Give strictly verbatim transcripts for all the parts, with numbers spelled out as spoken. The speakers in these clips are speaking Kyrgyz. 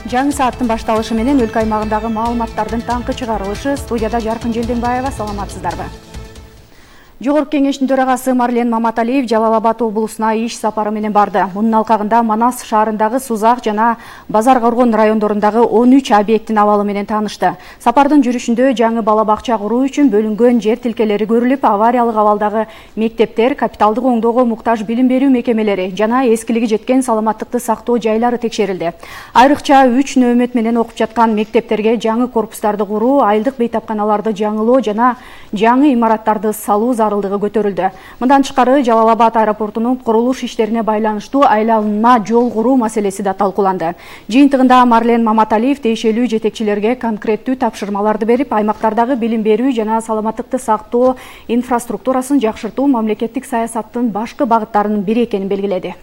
Жаңы сааттын башталышы менен өлкө аймагындагы маалыматтардын таңкы чыгарылышы. Студияда Жаркын Желденбаева, саламатсыздарбы? Жогорку кеңештин төрагасы Марлен Маматалиев Жалал Абад облусуна иш сапары менен барды. Мунун алкагында Манас шаарындагы Сузак жана Базар Коргон райондорундагы он үч объекттин абалы менен таанышты. Сапардын жүрүшүндө жаңы бала бакча куруу үчүн бөлүнгөн жер тилкелери көрүлүп, авариялык абалдагы мектептер, капиталдык оңдоого муктаж билим берүү мекемелери жана эскилиги жеткен саламаттыкты сактоо жайлары текшерилди. Айрыкча үч нөөмөт менен окуп жаткан мектептерге жаңы корпустарды куруу, айылдык бейтапканаларды жаңылоо жана жаңы имараттарды салуу зарылдыгы көтөрүлдү. Мындан тышкары Жалал Абад аэропортунун курулуш иштерине байланыштуу айланма жол куруу маселеси да талкууланды. Жыйынтыгында Марлен Маматалиев тиешелүү жетекчилерге конкреттүү тапшырмаларды берип, аймактардагы билим берүү жана саламаттыкты сактоо инфраструктурасын жакшыртуу мамлекеттик саясаттын башкы багыттарынын бири экенин белгиледи.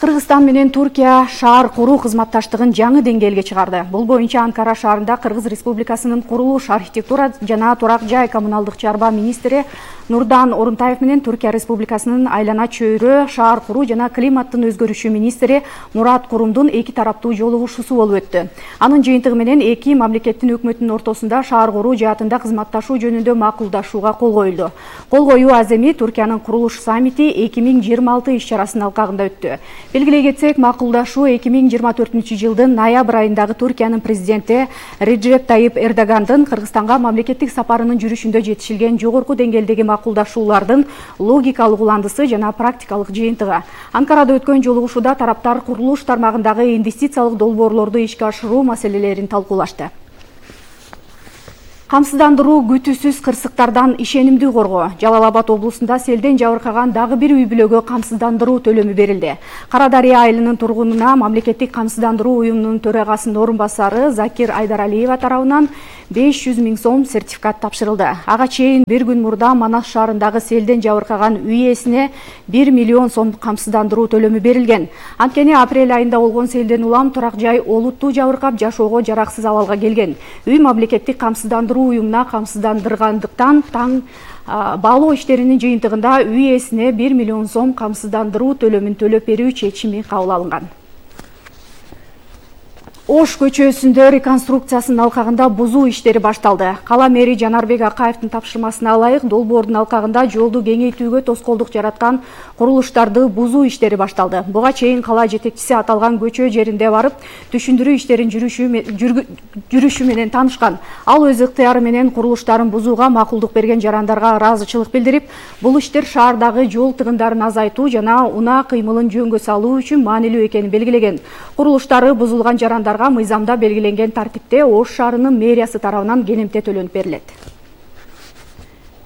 Кыргызстан менен Туркия шаар куруу кызматташтыгын жаңы деңгээлге чыгарды. Бул боюнча Анкара шаарында Кыргыз Республикасынын курулуш, архитектура жана турак жай коммуналдык чарба министри Нурдан Орунтаев менен Туркия Республикасынын айлана чөйрө, шаар куруу жана климаттын өзгөрүшү министри Мурат Курумдун эки тараптуу жолугушуусу болуп өттү. Анын жыйынтыгы менен эки мамлекеттин өкмөтүнүн ортосунда шаар куруу жаатында кызматташуу жөнүндө макулдашууга кол коюлду. Кол коюу аземи Туркиянын курулуш саммити эки миң жыйырма алты иш-чарасынын алкагында өттү. Белгилей кетсек, макулдашуу эки миң жыйырма төртүнчү жылдын ноябрь айындагы Туркиянын президенти Реджеп Тайип Эрдогандын Кыргызстанга мамлекеттик сапарынын жүрүшүндө жетишилген жогорку деңгээлдеги макулдашуулардын логикалык уландысы жана практикалык жыйынтыгы. Анкарада өткөн жолугушууда тараптар курулуш тармагындагы инвестициялык долбоорлорду ишке ашыруу маселелерин талкуулашты. Камсыздандыруу күтүүсүз кырсыктардан ишенимдүү коргоо. Жалал Абад облусунда селден жабыркаган дагы бир үй бүлөгө камсыздандыруу төлөмү берилди. Кара Дарыя айылынын тургунуна мамлекеттик камсыздандыруу уюмунун төрагасынын орун басары Закир Айдаралиева тарабынан беш жүз миң сом сертификат тапшырылды. Ага чейин бир күн мурда Манас шаарындагы селден жабыркаган үй ээсине бир миллион сом камсыздандыруу төлөмү берилген. Анткени апрель айында болгон селден улам турак жай олуттуу жабыркап, жашоого жараксыз абалга келген. Үй мамлекеттик камсыздандыруу уюмуна камсыздандыргандыктан таң баалоо иштеринин жыйынтыгында үй ээсине бир миллион сом камсыздандыруу төлөмүн төлөп берүү чечими кабыл алынган. Ош көчөсүндө реконструкциясынын алкагында бузуу иштери башталды. Кала мэри Жанарбек Акаевдин тапшырмасына ылайык долбоордун алкагында жолду кеңейтүүгө тоскоолдук жараткан курулуштарды бузуу иштери башталды. Буга чейин кала жетекчиси аталган көчө жеринде барып, түшүндүрүү иштерин жүрүшү менен таанышкан. Ал өз ыктыяры менен курулуштарын бузууга макулдук берген жарандарга ыраазычылык билдирип, бул иштер шаардагы жол тыгындарын азайтуу жана унаа кыймылын жөнгө салуу үчүн маанилүү экенин белгилеген. Курулуштары бузулган жарандарга мыйзамда белгиленген тартипте Ош шаарынын мэриясы тарабынан келемте төлөнүп берилет.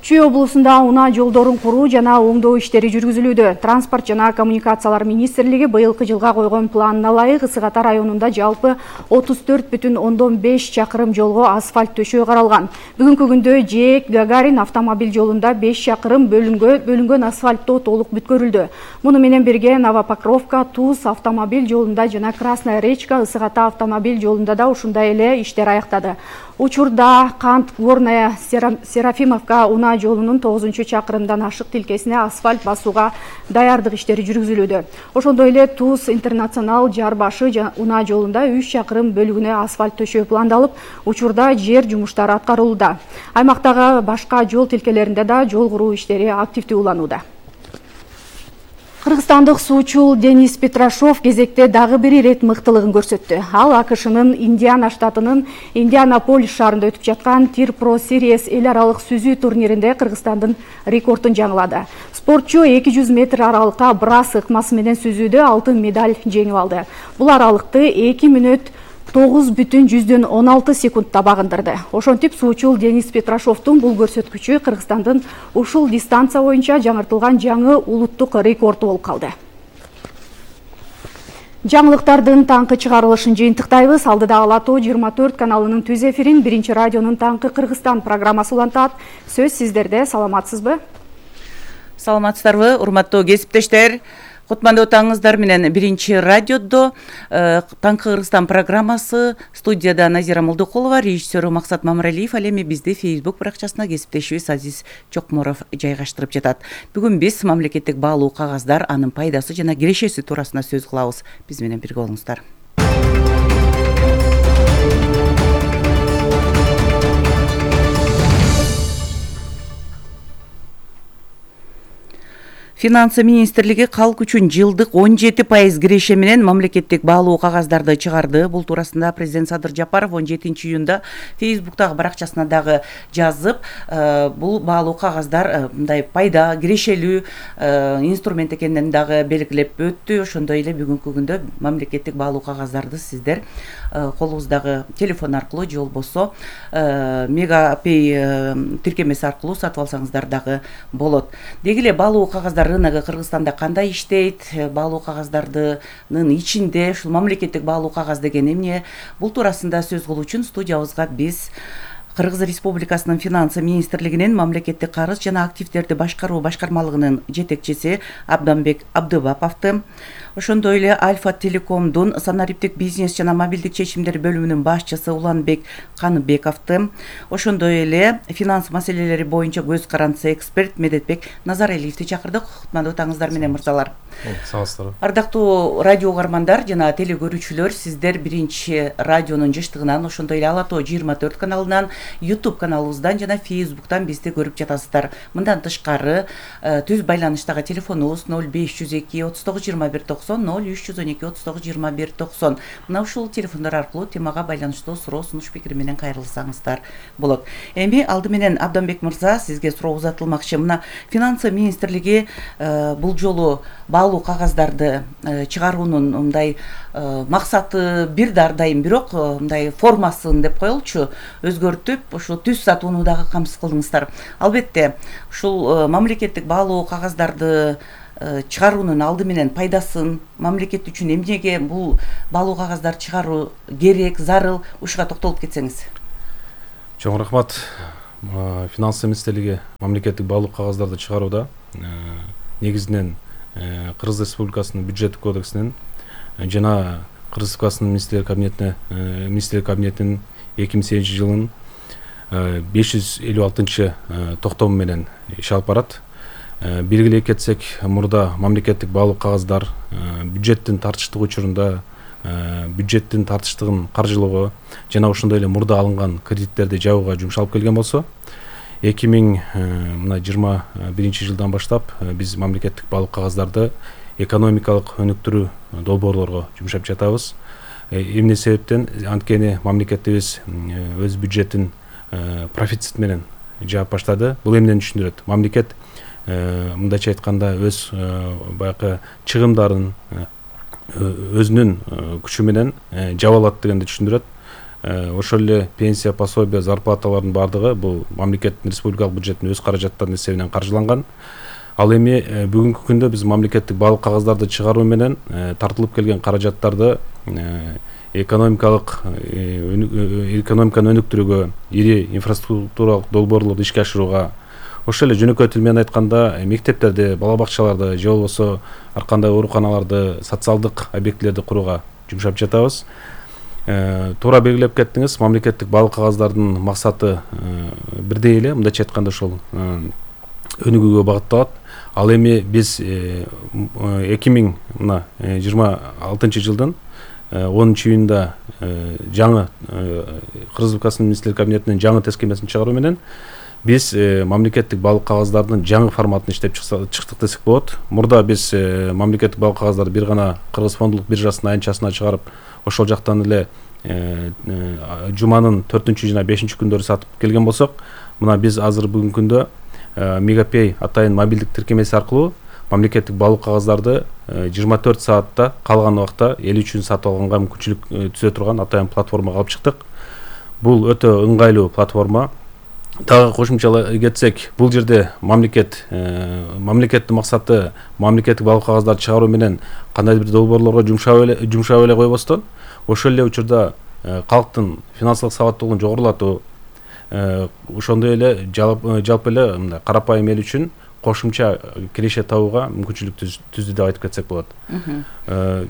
Чүй облусунда унаа жолдорун куруу жана оңдоо иштери жүргүзүлүүдө. Транспорт жана коммуникациялар министрлиги быйылкы жылга койгон планына ылайык Ысык Ата районунда жалпы отуз төрт бүтүн ондон беш чакырым жолго асфальт төшөө каралган. Бүгүнкү күндө Жээк Гагарин автомобиль жолунда беш чакырым бөлүнгөн асфальттоо толук бүткөрүлдү. Муну менен бирге Новопокровка, Туз автомобиль жолунда жана Красная Речка, Ысык Ата автомобиль жолунда да ушундай эле иштер аяктады. Учурда Кант Горная Серафимовка унаа жолунун тогузунчу чакырымдан ашык тилкесине асфальт басууга даярдык иштери жүргүзүлүүдө. Ошондой эле Туз Интернационал Жар башы унаа жолунда үч чакырым бөлүгүнө асфальт төшөө пландалып, учурда жер жумуштары аткарылууда. Аймактагы башка жол тилкелеринде да жол куруу иштери активдүү уланууда. Кыргызстандык суучул Денис Петрашов кезекте дагы бир ирет мыктылыгын көрсөттү. Ал АКШнын Индиана штатынын Индианаполис шаарында өтүп жаткан Тир Pro Series эл аралык сүзүү турниринде Кыргызстандын рекордун жаңылады. Спортчу эки жүз метр аралыкка брас ыкмасы менен сүзүүдө алтын медаль жеңип алды. Бул аралыкты эки мүнөт тогуз бүтүн жүздөн он алты секундта багындырды. Ошентип суучул Денис Петрашовдун бул көрсөткүчү Кыргызстандын ушул дистанция боюнча жаңыртылган жаңы улуттук рекорду болуп калды. Жаңылыктардын таңкы чыгарылышын жыйынтыктайбыз. Алдыда Ала Тоо жыйырма төрт каналынын түз эфирин Биринчи радионун Таңкы Кыргызстан программасы улантат. Сөз сиздерде, саламатсызбы? Саламатсыздарбы, урматтуу кесиптештер? Кутмандуу таңыңыздар менен Биринчи радиодо Таңкы Кыргызстан программасы, студияда Назира Молдокулова, режиссеру Максат Мамыралиев, ал эми бизди Facebook баракчасына кесиптешибиз Азиз Чокморов жайгаштырып жатат. Бүгүн биз мамлекеттик баалуу кагаздар, анын пайдасы жана кирешеси туурасында сөз кылабыз. Биз менен бирге болуңуздар. Финансы министрлиги калк үчүн жылдык он жети пайыз киреше менен мамлекеттик баалуу кагаздарды чыгарды. Бул туурасында президент Садыр Жапаров он жетинчи июнда Фейсбуктагы баракчасына дагы жазып, бул баалуу кагаздар мындай пайда, кирешелүү инструмент экенин дагы белгилеп өттү. Ошондой эле бүгүнкү күндө мамлекеттик баалуу кагаздарды сиздер колуңуздагы телефон аркылуу же болбосо Мегапей тиркемеси аркылуу сатып алсаңыздар дагы болот. Деги эле баалуу кагаздар рыногу Кыргызстанда кандай иштейт? Баалуу кагаздардын ичинде ушул мамлекеттик баалуу кагаз деген эмне? Бул туурасында сөз кылуу үчүн студиябызга биз Кыргыз Республикасынын Финансы министрлигинин мамлекеттик карыз жана активдерди башкаруу башкармалыгынын жетекчиси Абданбек Абдыбаповду, ошондой эле Альфа Телекомдун санариптик бизнес жана мобилдик чечимдер бөлүмүнүн башчысы Уланбек Каныбековду, ошондой эле финанс маселелери боюнча көз карандысы эксперт Медетбек Назаралиевди чакырдык. Кутмандуу таңыңыздар менен мырзалар. Саасыздарбы. Ардактуу радио угармандар жана теле көрүүчүлөр, сиздер биринчи радионун жыштыгынан, ошондой эле Ала Тоо жыйырма төрт каналынан, YouTube каналыбыздан жана Facebooktан бизди көрүп жатасыздар. Мындан тышкары түз байланыштагы телефонубуз ноль беш жүз эки отуз тогуз жыйырма бир токсон, ноль үч жүз он эки отуз тогуз жыйырма бир токсон. Мына ушул телефондор аркылуу темага байланыштуу суроо, сунуш пикир менен кайрылсаңыздар болот. Эми алды менен Абданбек мырза, сизге суроо узатылмакчы. Мына Финансы министрлиги бул жолу баалуу кагаздарды чыгаруунун мындай максаты бир да ар дайым, бирок мындай формасын деп коелучу өзгөртүп, ушул түз сатууну дагы камсыз кылдыңыздар. Албетте, ушул мамлекеттик баалуу кагаздарды чыгаруунун алды менен пайдасын, мамлекет үчүн эмнеге бул баалуу кагаздар чыгаруу керек, зарыл, ушуга токтолуп кетсеңиз. Чоң рахмат. Финансы министрлиги мамлекеттик баалуу кагаздарды чыгарууда негизинен Кыргыз Республикасынын бюджеттик кодексинин жана Кыргыз Республикасынын министрлер кабинетине министрлер кабинетинин эки миң сегизинчи жылынын беш жүз элүү алтынчы токтому менен иш алып барат. Белгилей кетсек, мурда мамлекеттик баалуу кагаздар бюджеттин тартыштык учурунда бюджеттин тартыштыгын каржылоого жана ошондой эле мурда алынган кредиттерди жабууга жумшалып келген болсо, эки миң жыйырма биринчи жылдан баштап биз мамлекеттик баалуу кагаздарды экономикалык өнүктүрүү долбоорлорго жумшап жатабыз. Эмне себептен? Анткени мамлекетибиз өз бюджетин профицит менен жаап баштады. Бул эмнени түшүндүрөт? Мамлекет мындайча айтканда өз баягы чыгымдарын өзүнүн күчү менен жаба алат дегенди түшүндүрөт. Ошол эле пенсия, пособия, зарплаталардын бардыгы бул мамлекеттин республикалык бюджеттин өз каражаттарынын эсебинен каржыланган. Ал эми бүгүнкү күндө биз мамлекеттик баалуу кагаздарды чыгаруу менен тартылып келген каражаттарды экономикалык экономиканы өнүктүрүүгө, ири инфраструктуралык долбоорлорду ишке ашырууга, ошол эле жөнөкөй тил менен айтканда мектептерди, бала бакчаларды же болбосо ар кандай ооруканаларды, социалдык объектилерди курууга жумшап жатабыз. Туура белгилеп кеттиңиз, мамлекеттик баалуу кагаздардын максаты бирдей эле, мындайча айтканда ошол өнүгүүгө багытталат. Ал эми биз эки миң жыйырма алтынчы жылдын онунчу июнда жаңы Кыргыз Республикасынын министрлер кабинетинин жаңы тескемесин чыгаруу менен биз мамлекеттик баалуу кагаздардын жаңы форматын иштеп чыктык десек болот. Мурда биз мамлекеттик баалуу кагаздарды бир гана Кыргыз фондулук биржасынын айнчасына чыгарып, ошол жактан эле жуманын төртүнчү жана бешинчи күндөрү сатып келген болсок, мына биз азыр бүгүнкү күндө Мегапей атайын мобилдик тиркемеси аркылуу мамлекеттик баалуу кагаздарды жыйырма төрт саатта калган убакта эл үчүн сатып алганга мүмкүнчүлүк түзө турган атайын платформага алып чыктык. Бул өтө ыңгайлуу платформа. Дагы кошумчалай кетсек, бул жерде мамлекет мамлекеттин максаты мамлекеттик баалуу кагаздарды чыгаруу менен кандайдыр бир долбоорлорго жумшап эле жумшап эле койбостон, ошол эле учурда калктын финансылык сабаттуулугун жогорулатуу, ошондой эле жалпы эле мындай карапайым эл үчүн кошумча киреше табууга мүмкүнчүлүк түздү деп айтып кетсек болот.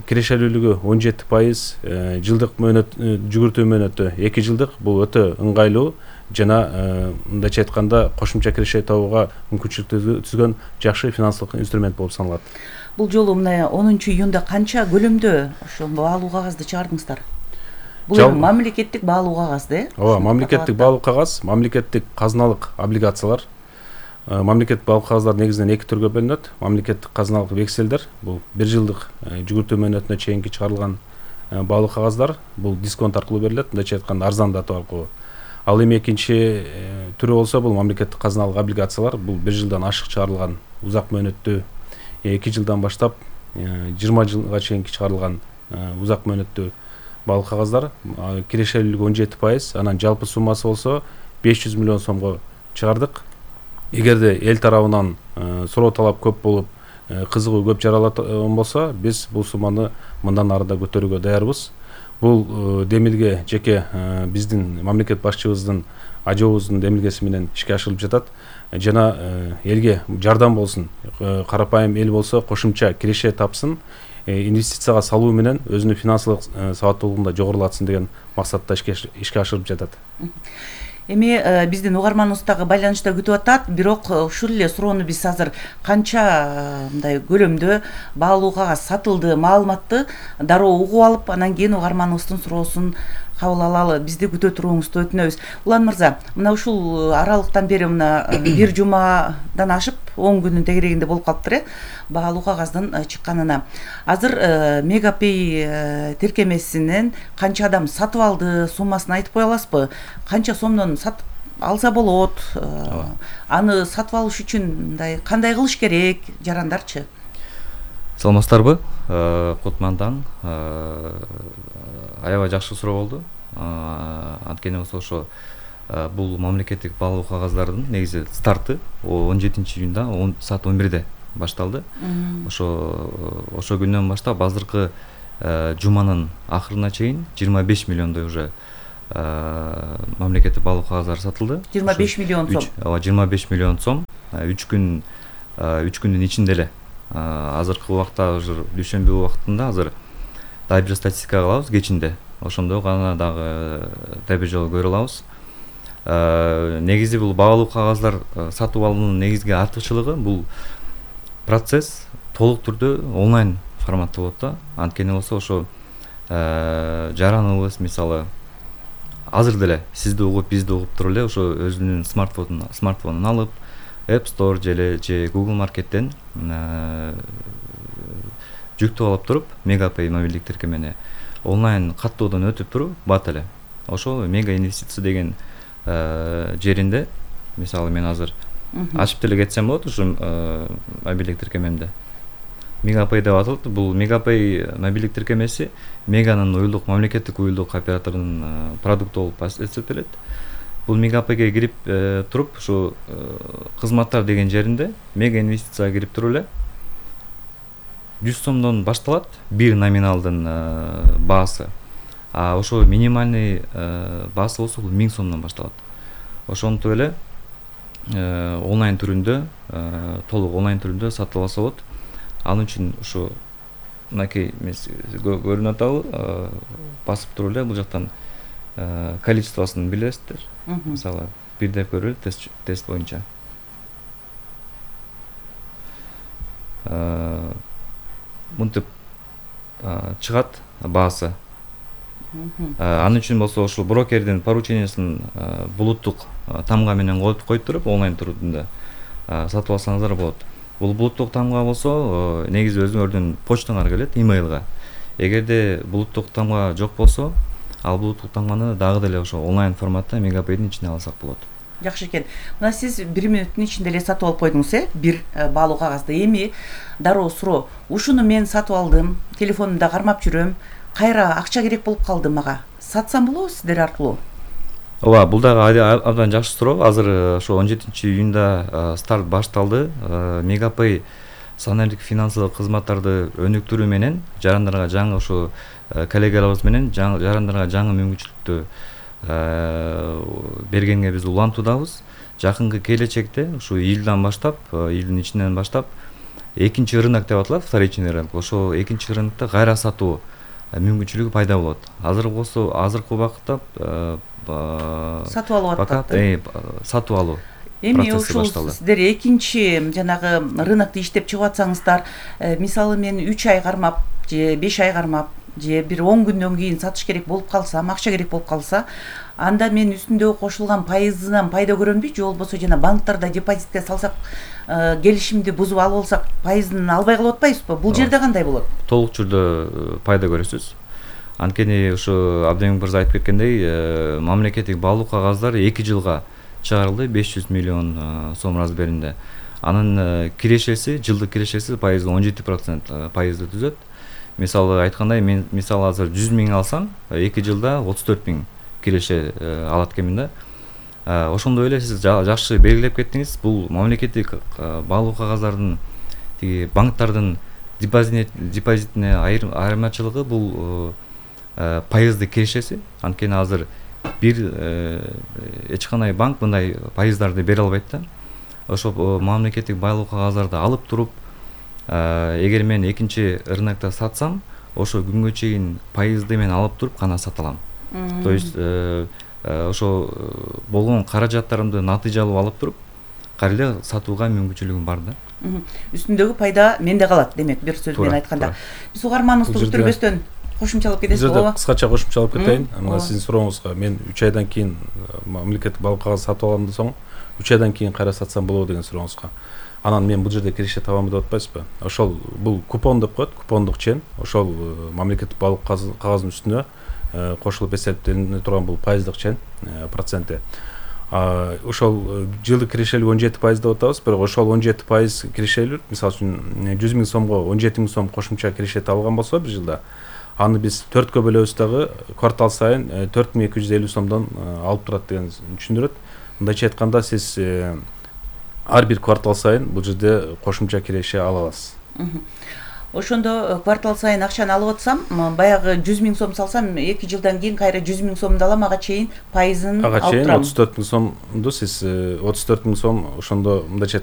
Кирешелүүлүгү он жети пайыз, жылдык мөөнөт жүгүртүү мөөнөтү эки жылдык. Бул өтө ыңгайлуу жана мындайча айтканда кошумча киреше табууга мүмкүнчүлүк түзгөн жакшы финансылык инструмент болуп саналат. Бул жолу мына онунчу июнда канча көлөмдө ошол баалуу кагазды чыгардыңыздар? Бул эми мамлекеттик баалуу кагаз да? Ооба, мамлекеттик баалуу кагаз, мамлекеттик казыналык облигациялар. мамлекеттик баалык кагаздар негизинен эки түргө бөлүнөт. Мамлекеттик казыналык векселдер, бул бир жылдык жүгүртүү мөөнөтүнө чейинки чыгарылган баалык кагаздар, бул дисконт аркылуу берилет, мындайча айтканда арзандатуу аркылуу. Ал эми экинчи түрү болсо бул мамлекеттик казыналык облигациялар, бул бир жылдан ашык чыгарылган узак мөөнөттүү эки жылдан баштап жыйырма жылга чейинки чыгарылган узак мөөнөттүү баалык кагаздар, кирешелүүлүгү он жети пайыз, анан жалпы суммасы болсо беш жүз миллион сомго чыгардык. Эгерде эл тарабынан суроо талап көп болуп, кызыгуу көп жаралган болсо, биз бул сумманы мындан ары да көтөрүүгө даярбыз. Бул демилге жеке биздин мамлекет башчыбыздын ажообуздун демилгеси менен ишке ашырылып жатат. Жана элге жардам болсун, карапайым эл болсо кошумча киреше тапсын, инвестицияга салуу менен өзүнүн финансылык сабаттуулугун да жогорулатсын деген максатта ишке ашырылып жатат. Эми биздин угарманыбыз дагы байланышта күтүп атат, бирок ушул эле суроону биз азыр канча мындай көлөмдө баалуу кагаз сатылды маалыматты дароо угуп алып, анан кийин угарманыбыздын суроосун кабыл алалы, бизди күтө туруңузду өтүнөбүз. Улан мырза, мына ушул аралыктан бери мына бир жумадан ашып он күнүн тегерегинде болуп калыптыр э баалуу кагаздын чыкканына. Азыр Мегапей тиркемесинен канча адам сатып алды, суммасын айтып кое аласызбы? Канча сомдон сатып алса болот? Аны сатып алыш үчүн мындай кандай кылыш керек, жарандарчы? Саламатсыздарбы? Кутмандан аябай жакшы суроо болду. Анткени болсо ошо бул мамлекеттик баалуу кагаздардын негизи старты он жетинчи июнда саат он бирде башталды. Ошо ошо күндөн баштап азыркы жуманын акырына чейин жыйырма беш миллиондой уже мамлекеттик баалуу кагаздары сатылды. жыйырма беш миллион сом. Ооба, жыйырма беш миллион сом. үч күн үч күндүн ичинде эле азыркы убакта уже дүйшөмбү убактында азыр дагы бир статистика кылабыз кечинде. Ошондо гана дагы тебе жол көрө алабыз. Негизи бул баалуу кагаздар сатып алуунун негизги артыкчылыгы бул процесс толук түрдө онлайн форматта болот да. Анткени болсо ошо жараныбыз мисалы азыр деле сизди угуп, бизди угуп туруп эле ошо өзүнүн смартфонун смартфонун алып App Store же же Google Market'тен жүктөп алып туруп, Мегапей мобилдик тиркемени онлайн каттоодон өтүп туруп бат эле. Ошол Мега инвестиция деген жеринде, мисалы мен азыр ачып деле кетсем болот ушу мобилдик тиркемемде. Мегапей деп аталат. Бул Мегапей мобилдик тиркемеси Меганын уюлдук мамлекеттик уюлдук операторунун продукту болуп эсептелет. Бул Мегапейге кирип туруп, ушу кызматтар деген жеринде Мега инвестицияга кирип туруп эле жүз сомдон башталат бир номиналдын баасы. А ошо минимальный баасы болсо бул миң сомдон башталат. Ошонтип эле онлайн түрүндө, толук онлайн түрүндө сатып алса болот. Анын үчүн ушу мынакей көрүнүп атабы, басып туруп эле бул жактан количествосын билесиздер. Мисалы бир деп көрөлү тест тест боюнча. Мынтип чыгат баасы. Анын үчүн болсо ошол брокердин поручениясын булуттук тамга менен коюп туруп онлайн түрүндө сатып алсаңыздар болот. Бул булуттук тамга болсо негизи өзүңөрдүн почтаңарга келет, имейлга. Эгерде булуттук тамга жок болсо, ал булуттук тамганы дагы деле ошо онлайн форматта Мегапейдин ичине алсак болот. Жакшы экен. Мына сиз бир мүнөттүн ичинде эле сатып алып койдуңуз, э? Бир баалуу кагазды. Эми дароо суроо. Ушуну мен сатып алдым, телефонумда кармап жүрөм. Кайра акча керек болуп калды мага. Сатсам болобу сиздер аркылуу? Ооба, бул дагы абдан жакшы суроо. Азыр ошо он жетинчи июнда старт башталды. Мегапей саналык финансылык кызматтарды өнүктүрүү менен жарандарга жаңы ошо коллегаларыбыз менен жарандарга жаңы мүмкүнчүлүктү бергенге биз улантуудабыз. Жакынкы келечекте ушу июлдан баштап, июлдун ичинен баштап экинчи рынок деп аталат, вторичный рынок. Ошо экинчи рынокто кайра сатуу мүмкүнчүлүгү пайда болот. Азыр болсо азыркы убакытта сатып алып атат. Сатып алуу. Эми ушул сиздер экинчи жанагы рынокто иштеп чыгып атсаңыздар, мисалы мен үч ай кармап же беш ай кармап же бир он күндөн кийин сатыш керек болуп калса, акча керек болуп калса, анда мен үстүндөгү кошулган пайызынан пайда көрөмбү, же болбосо жана банктарда депозитке салсак, келишимди бузуп алып алсак, пайызын албай калып атпайбызбы? Бул жерде кандай болот? Толук түрдө пайда көрөсүз. Анткени ушу Абдемин мырза айтып кеткендей, мамлекеттик баалуу кагаздар эки жылга чыгарылды, беш жүз миллион сом размеринде. Анын кирешеси, жылдык кирешеси пайызы он жети процент пайызды түзөт. Мисалы айткандай, мен мисалы азыр жүз миң алсам, эки жылда отуз төрт миң киреше алат экенмин да. Ошондой эле сиз жакшы белгилеп кеттиңиз. Бул мамлекеттик баалуу кагаздардын тиги банктардын депозитине айырмачылыгы бул пайызды кирешеси. Анткени азыр бир эч кандай банк мындай пайыздарды бере албайт да. Ошо мамлекеттик баалуу кагаздарды алып туруп, эгер мен экинчи рынокто сатсам, ошо күнгө чейин пайызды мен алып туруп гана сата алам. То есть ошо болгон каражаттарымды натыйжалуу алып туруп, кайра эле сатууга мүмкүнчүлүгүм бар да. Үстүндөгү пайда менде калат, демек бир сөз менен айтканда. Биз угарманыбызды күтүрбөстөн кошумчалап кетесиз болобу? Кыскача кошумчалап кетейин. Мына сиздин сурооңузга мен үч айдан кийин мамлекеттик баалуу кагаз сатып аламдан соң үч айдан кийин кайра сатсам болобу деген сурооңузга. Анан мен бул жерде киреше табамбы деп атпайсызбы? Ошол бул купон деп коет, купондук чен. Ошол мамлекеттик баалуу кагаздын үстүнө кошулуп эсептелине турган бул пайыздык чен проценти. Ошол жылдык кирешелик он жети пайыз деп атабыз, бирок ошол он жети пайыз кирешелик, мисалы үчүн жүз миң сомго он жети миң сом кошумча киреше табылган болсо бир жылда, аны биз төрткө бөлөбүз дагы квартал сайын төрт миң эки жүз элүү сомдон алып турат деген түшүндүрөт. Мындайча айтканда, сиз ар бир квартал сайын бул жерде кошумча киреше ала аласыз. Ошондо квартал сайын акчаны алып атсам, баягы жүз миң сом салсам, эки жылдан кийин кайра жүз миң сомду алам, ага чейин пайызын алып турам. Ага чейин отуз төрт миң сомду сиз отуз төрт миң сом ошондо мындайча